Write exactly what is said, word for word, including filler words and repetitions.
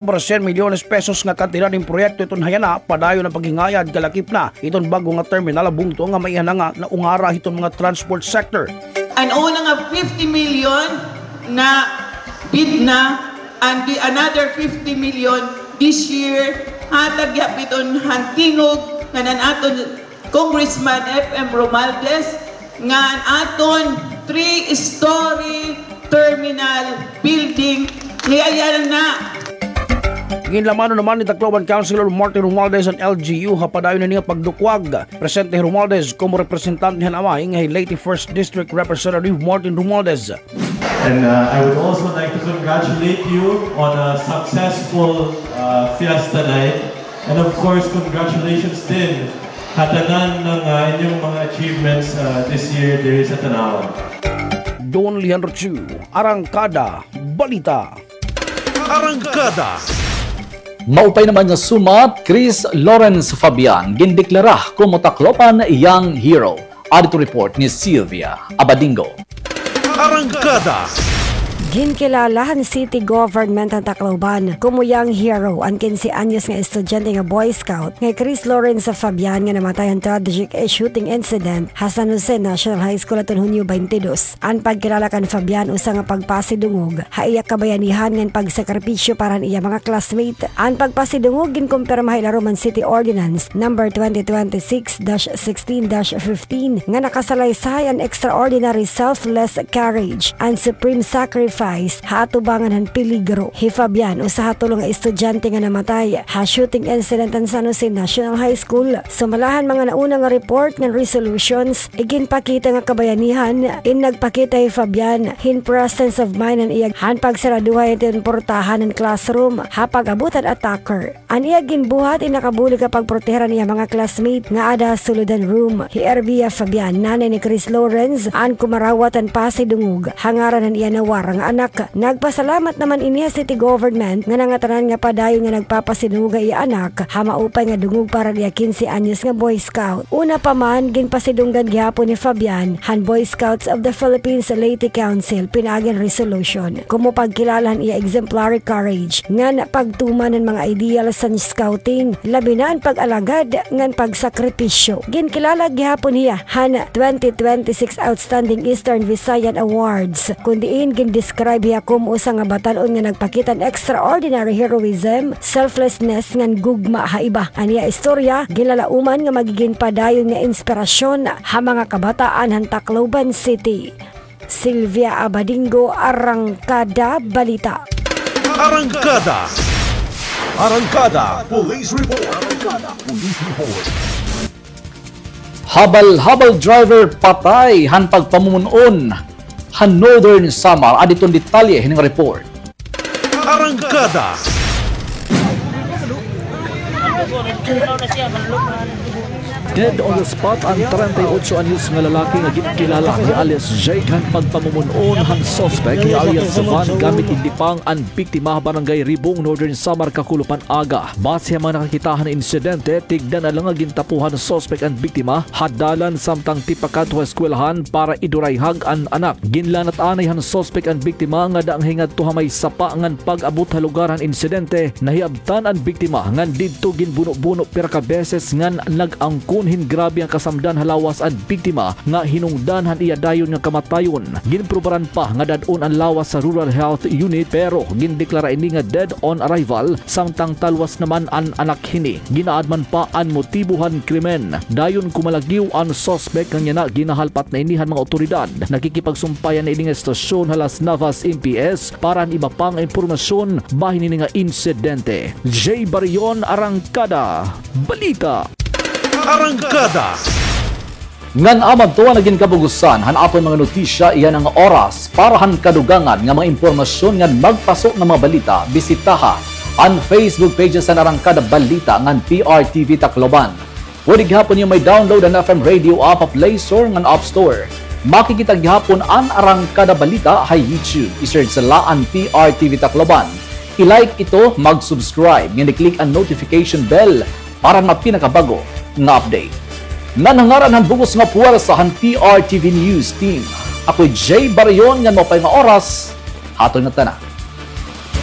sobra cien milyones pesos nga kantidad hin proyekto iton hayana, padayon an paghingayad kalakip na iton bag-o nga terminal ha bungto nga maiha na nga naungara hiton mga transport sector. An una nga fifty million na bid na, and the another fifty million this year, hatag gihap iton han tingog ngan an aton Congressman F M Romualdez nga an aton three-story terminal building, niyayal na. Ginlamanon naman ni Tacloban Councilor Martin Romualdez an L G U ha padayon na niya pagdukwag. Presente hi Romualdez komo representante han amay nga hi late First District Representative Martin Romualdez. And uh, I would also like to congratulate you on a successful uh, fiesta night. And of course, congratulations din ha tanan ng uh, inyong mga achievements uh, this year diri sa Tanauan. Don Leandro Chu, Arangkada Balita. Arangkada. Maupay naman nga sumat, Chris Lawrence Fabian, gindeklara komo Tacloban Young Hero. Adto report ni Sylvia Abadingo. Arangkada. Ginkilala han city government han Tacloban komo Young Hero an kinse anyos nga estudyante nga Boy Scout nga hi Chris Lawrence Fabian nga namatay han tragic shooting incident ha San Jose National High School hadton Hunyo twenty-two. An pagkilala kan Fabian usa nga pagpasidungog ha iya kabayanihan ngan pagsakripisyo para han iya mga classmate. An pagpasidungog ginkumpirma ha ilarom han City Ordinance Number twenty twenty-six dash sixteen dash fifteen nga nakasalaysay an extraordinary selfless courage and supreme sacrifice ha atubangan han peligro. Hi Fabian, usa ha tulo nga estudyante nga namatay ha shooting incident han San Jose National High School. Sumala han mga nauna nga report ngan resolutions, iginpakita nga kabayanihan in nagpakita hi Fabian hin presence of mind han iya han pagsaraduhay hiton portahan han classroom ha pag-abot han attacker. An iya ginbuhat in nakabulig ha pagproteher han iya mga classmate nga ada ha sulod han room. Hi Ervia Fabian, nanay ni Chris Lawrence, an kumarawat han pasidungog ha ngaran han iya nawara nga anak. Nagpasalamat naman ini ha city government nga nangatanan nga padayon nga nagpapasidungog ha iya anak ha maupay nga dungog para han iya kinse anyos nga Boy Scout. Una pa man, ginpasidunggan gihapon ni Fabian han Boy Scouts of the Philippines Leyte Council pinaagi han resolution komo pagkilala han iya exemplary courage ngan pagtuman han mga ideals han scouting, labi na an pag-alagad ngan pagsakripisyo. Ginkilala gihapon hiya han twenty twenty-six Outstanding Eastern Visayan Awards, kun diin gindescribe hiya komo usa nga batan-on nga nagpakita han extraordinary heroism, selflessness ngan gugma ha iba. An iya istorya ginlalauman nga magigin padayon nga inspirasyon ha mga kabataan han Tacloban City. Sylvia Abadingo, Arangkada Balita. Arangkada. Arangkada Police Report. Arangkada Police Report. Habal-habal driver patay han pagpamumon-on ha Northern Samar. Adi iton detalye hining report. Arangkada. Dead on the spot an treinta y ocho anyos nga lalaki nga ginkilala ni alias Jake han pagpamumon-on han suspek ni alias Van gamit in dipang an biktima ha Barangay Ribong, Northern Samar, kakulup han aga. Base ha mga nakakita han insidente, tigda na la nga gintapuhan han suspek an biktima ha dalan samtang tipakat ha eskwelahan para idurayhag an anak. Ginlanat anay han suspek an biktima ngada nga hingadto ha may sapa ngan pag-abot ha lugar han insidente, nahiabtan an biktima ngan didto ginbuno-buno pira ka beses ngan nag-angkon hin grabe nga kasamdan ha lawas an biktima nga hinungdan han iya dayon nga kamatayon. Ginprobaran pa nga dad-on an lawas ha Rural Health Unit pero gindeklara ini nga dead on arrival samtang talwas naman an anak hini. Gin-aadman pa an motibo han krimen. Dayon kumalagyo an suspek ngan yana ginahalpat na ini han mga awtoridad. Nakikipagsumpayan na ini nga estasyon ha Las Navas M P S para han iba pa nga impormasyon bahin hini nga insidente. Jay Barion, Arangkada Balita. Arangkada. Ngan amo adto an nagin kabugusan han aton mga notisya yana nga oras. Para han kadugangan nga mga impormasyon ngan magpaso nga mga balita, bisitaha an Facebook pages han Arangkada Balita ngan P R T V Tacloban. Pwede gihapon niyo may download an F M Radio app ha Play Store ngan App Store. Makikita gihapon an Arangkada Balita ha YouTube. I-search la an P R T V Tacloban. I-like ito, mag-subscribe, ngan i-click an notification bell para han mga pinakabag-o nga update. Ngan ha ngaran han bug-os nga puwersa han P R T V News Team, ako hi Jay Barion ngan maupay nga oras ha aton ngatanan.